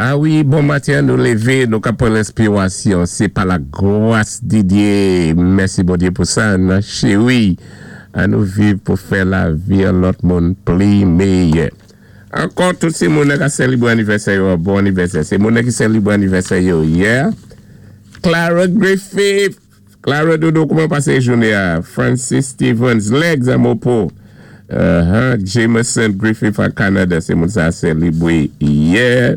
A wi, bon maten, nou lévé, nou ka pwan lenspiwasyon. Sé pa la gwas di Dyé. Mèsi Bondyé pou sa, nan chéwi. An nou viv pou fè lavi an lòt moun pli méyè. Ankò, tout sé moun ka sélibwé anivèsè yo, bon anivèsè. Sé moun ki sélibwé anivèsè yo yè. Clara Griffith, Clara Dodo, kouman pasé jouné a? Francis Stevens, Legs Amopo, Jameson Griffith a Canada, sé moun sa sélibwé yè.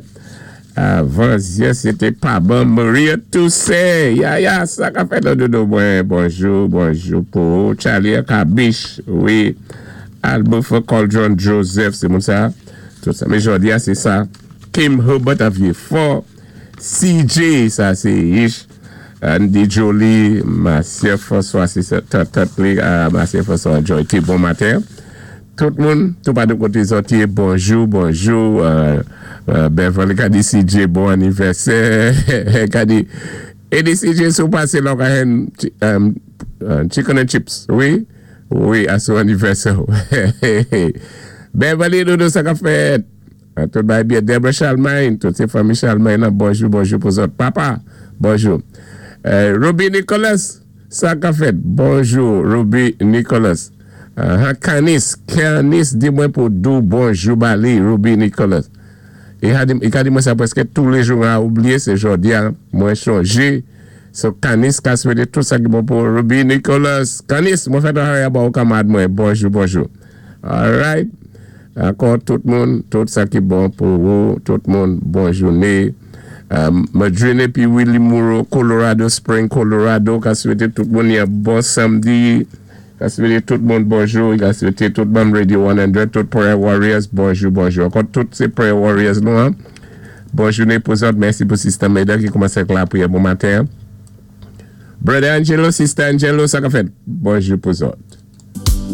Avan yè, sé té Papa Maria Toussaint. Ya, ya, sa ka fèt la, Dodo. Bon, bonjou, bonjou pou Charlie Kabish, wi. Albert Cauldron Joseph, sé moun sa. Tout sa. Mé jòdi a, sé sa. Kim Herbert a Vieux-Fort. CJ, sa sé Ish. Andy Jolie, Marcia François, sé sa, Tante li, Marcia François Joy, bon maten. Tout moun, tout pa de koté zòt yé, bonjou, bonjou. Beverly ka di CJ, bon anivèsè. Ka di, é di CJ sou pasé la ka hen chicken and chips, wi? Wi, a sou anivèsè. Beverly, Dodo, sa ka fèt. Tout bagay byen. Deborah Charlemagne, tout sé fanmi Charlemagne nan, bonjou, bonjou pou zòt. Papa, bonjou. Ruby Nicholas, sa ka fèt. Bonjou, Ruby Nicholas. Canis, Canis, di mwen pou di ou bonjou ba li, Ruby Nicholas. I ka di mwen sa pwèské tou lé jou a oubliyé, sé jòdi a, mwen chonjé. So Canis ka swété tout sa ki bon pou Ruby Nicholas. Canis, mwen fè travay ba ou kanmad mwen. Bonjou, bonjou. All right. Ankò tout moun, tout sa ki bon pou ou, tout moun, bon jouné. Madrine pi Willy Moreau, Colorado Spring, Colorado, ka swété tout moun yon bon samdi. Ka swété tout moun bonjou, ka swété tout moun Radio 100, tout Prayer Warriors, bonjou, bonjou. Ankò tout sé Prayer Warriors nou, en. Bon jouné pou zòt, mèsi pou Sister Meda ki koumansé avèk la priyè bon maten. Brother Angelo, Sister Angelo, sa ka fèt. Bonjou pou zòt.